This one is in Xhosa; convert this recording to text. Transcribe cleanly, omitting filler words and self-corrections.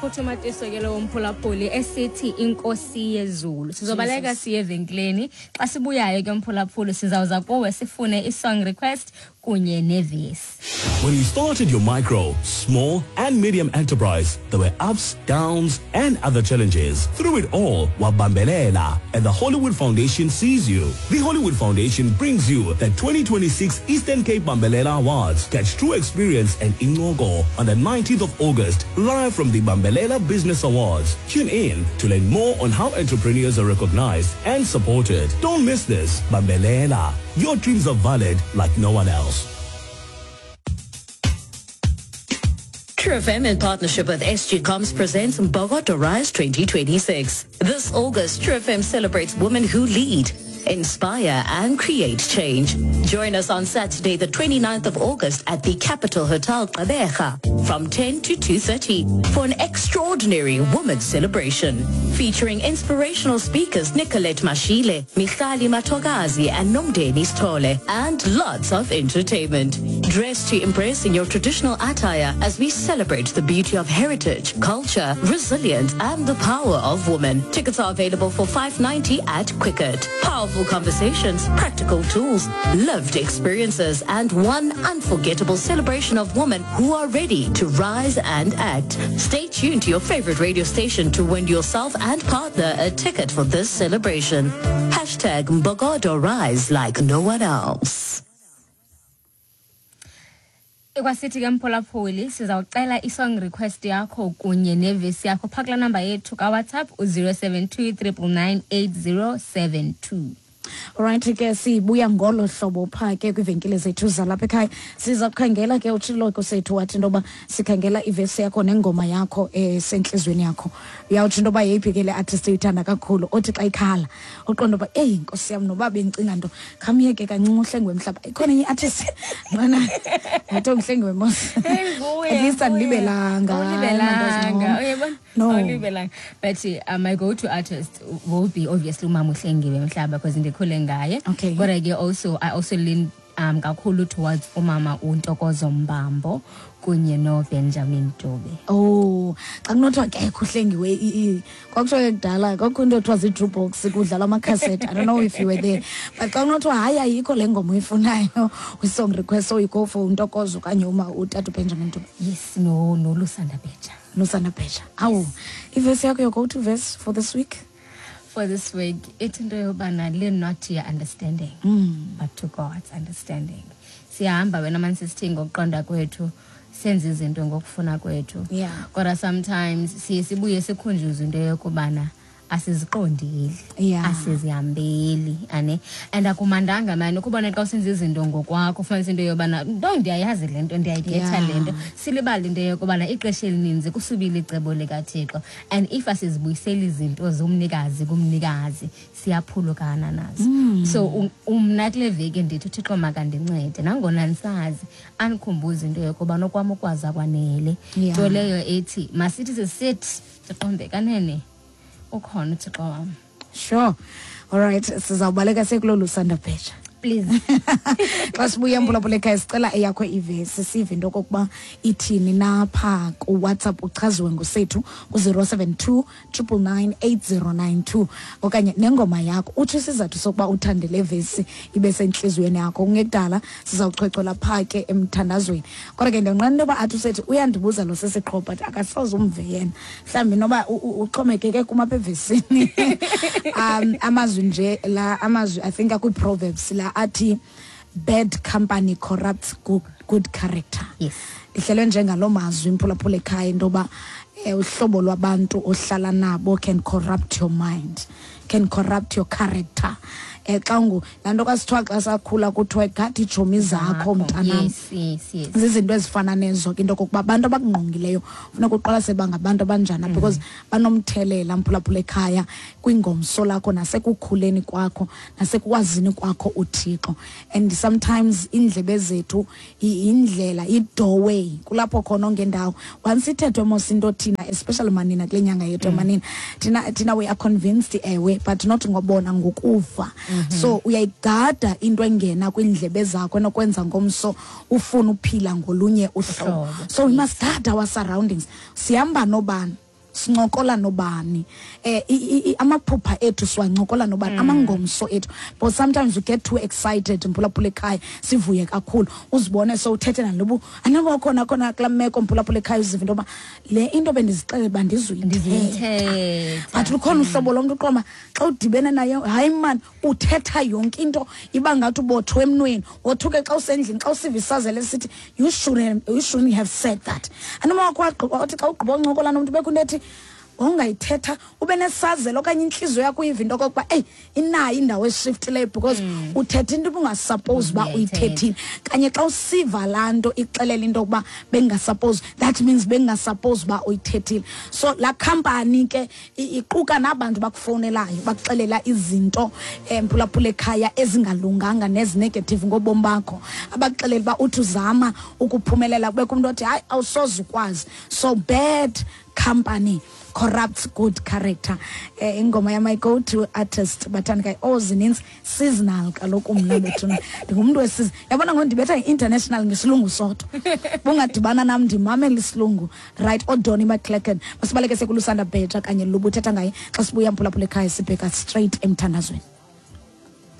Phuthuma Tiso ke lowo mphulaphuli esithi inkosi yezulu. Sizobaleka siye evenkileni. Xa sibuyayo ke mphulaphuli sizawuza kuwe sifune i-song request kunye nevesi. When you started your micro, small, and medium enterprise, there were ups, downs, and other challenges. Through it all, Wabambelela and the Hollywood Foundation sees you. The Hollywood Foundation brings you the 2026 Eastern Cape Bambelela Awards. Catch true experience and Ingogo on the 19th of August, live from the Bambelela Business Awards. Tune in to learn more on how entrepreneurs are recognized and supported. Don't miss this. Bambelela. Your dreams are valid like no one else. True FM in partnership with SG Comms presents Mbogoto Rise 2026. This August, True FM celebrates women who lead, inspire and create change. Join us on Saturday, the 29th of August at the Capital Hotel Gqeberha from 10 to 2:30 for an extraordinary women's celebration featuring inspirational speakers Nicolette Mashile, Michali Matogazi and Nomdeni Stole, and lots of entertainment. Dress to impress in your traditional attire as we celebrate the beauty of heritage, culture, resilience, and the power of women. Tickets are available for $5.90 at Quicket. Powerful conversations, practical tools, lived experiences, and one unforgettable celebration of women who are ready to rise and act. Stay tuned to your favorite radio station to win yourself and partner a ticket for this celebration. Hashtag Mbogodo Rise like no one else. Ikwasithi ke mphulaphuli sizawucela i-song request yakho kunye nevesi yakho phaa kulaa namba yethu kaWhatsApp u-072 999 8072. Alright ke, sibuya ngolo hlobo phaa ke kwiivenkile zethu zalapha ekhaya. Siza kukhangela ke, utshilo sethu wathi into yoba sikhangela ivesi yakho nengoma yakho esentliziyweni yakho. Uyawutsho into yoba yeyiphi ke le artist uyithanda kakhulu, othi xa ikhala uqonda uba eyi nkosi yam, noba bendicinga nto, khamiyeke kancinci uHlengiwe Mhlaba. Ikhona enye i-artist mana ngathi unguHlengiwe mos. At least andilibelanga. Awulibelanga, uyabona? No. Awulibelanga. But my go-to artist will be obviously umama uHlengiwe Mhlaba because ndikhule ngaye. Kodwa ke also I also lean kakhulu towards umama uNtokozo Mbambo kunye noBenjamin Dube. Oh, xa kunothiwa kekho uHlengiwe, kwakuthiwa ke kudala kwakukho into ekuthiwa zii-jukebox, kudlalwa amakhasethi. I don't know if you were there, but xa kunothiwa hayi, ayikho le ngoma uyifunayo kwi-song request, so you go for uNtokozo okanye uma utata uBenjamin Dube? Yes, no, noLusanda Beja. Lusanda Beja. Awu, ivesi yakho, your go-to verse for this week? For this week, ithi into yobana lean not to your understanding, but to God's understanding. Siyahamba wena mani sisithi ngokuqonda kwethu, senze izinto ngokufuna kwethu. Kodwa sometimes siye sibuye sikhunjuzwe into yokubana asiziqondeli, asizihambeli, ane. And akumandanga mani ukubona xa usenza izinto ngokwakho, ufumanise into yobana nto ndiyayazi le nto, ndiyayigetha le nto. Silibale into yokubana ixesha elininzi kusubile icebo likaThixo. And if asizibuyiseli izinto zomnikazi kumnikazi, siyaphulukana nazo. So umna kule veki ndithi uThixo makandincede, nangona ndisazi, andikhumbuze into yokuba nokwam ukwazi akwanele. Nto leyo ethi masithi sisithi siqonde kanene ukhona uThixo wam. Sure. All right, sizawubaleka sekulo Lusanda Bheja. Please. Xa sibuya mphulaphula ekhaya, sicela eyakho ivesi, sive into okokuba ithini napha kuWhatsApp, uchaziwe ngusethu ku-072 999 8092, okanye nengoma yakho, utsho isizathu sokuba uthande le vesi ibe sentliziyweni yakho. Kungekudala sizawuchwechwela phaa ke emthandazweni. Kodwa ke ndiyonqena into yoba athi usethi uyandibuza lo sisiqho, but akasoze umve yena, mhlawumbi noba uxhomekeke kum apha evesini. Amazwi nje la, amazwi I think akwi-Proverbs la athi bad company corrupts good character. Ndihlelwe njengaloo mazwi mphulaphula ekhaya, into yoba uhlobo lwabantu ohlala nabo can corrupt your mind, can corrupt your character. Xa ungu laa nto kasithiwa xa sakhula kuthiwa gadi iitshomi zakho, Zakho. mntanam. Yes. Zizinto ezifana nezo ke, into okokuba abantu abakungqongileyo funeka uqwalasele uba ngabantu abanjani, because banomthelela mphulaphula ekhaya kwingomso lakho nasekukhuleni kwakho nasekukwazini kwakho uThixo. And sometimes iindlebe zethu yindlela, i-doorway, kulapho khona ongendawo. Once ithethwe mos into thina, especially manina kule nyanga yethu, manina thina we are convinced, ewe, but not ngobona, ngokuva. So uyayigada into engena kwiindlebe zakho enokwenza ngomso ufuna uphila ngolunye uhlobo. Uhlobo. So we must guard our surroundings. Sihamba nobani? Sincokola nobani? Amaphupha ethu siwancokola nobani? Amangomso ethu, but sometimes we get too excited, mphulaphula ekhaya, sivuye kakhulu, uzibone sowuthethe nalobu anoba khona khona kulaa meko, mphulaphula ekhaya, uzive into yoba le into bendizixelele uba ndizuyithetha. Ndizuyithetha. But lukhona uhlobo lomntu uqoma xa udibene naye, hayi mani, uthetha yonke into, iba ngathi ubothwe emnweni. Wothuke xa usendlini, xa usiva isazela esithi you shouldn't have said that. Anoma wakho wagqiba, wathi xa ugqiba uncokola nomntu, bekho into ethi wawungayithetha, ube nesazela okanye intliziyo yakho uyiva into okokuba eyi, inayo indawo eshiftileyo because uthetha into ubungasuppose uba Uyayithetha. uyithethile. Kanye xa usiva laa nto ixelela into yokuba bengasuppose, that means bengasuppose uba uyithethile. So laa khampani ke iquka nabantu bakufowunelayo, bakuxelela izinto, mphulaphula ekhaya, ezingalunganga nezinegative ngobomi bakho, abakuxelela uba uthi uzama ukuphumelela, kubekho umntu othi hayi, awusoze ukwazi. So bad company corrupts good character. Ingoma yama go to artist, bathandekayo, oh, zininzi, seasonal kaloku. Mna bethuna ndingumntu wesizini, yabona ngoku ndibetha i-international ngesilungu sodwa, bungadibana nam ndimamela isilungu, right? OoDonny McClurkin. Masibaleke sekulusanda bheja kanye lubu uthetha ngaye. Xa sibuya, mphulaphula ekhaya, sibheka straight emthandazweni.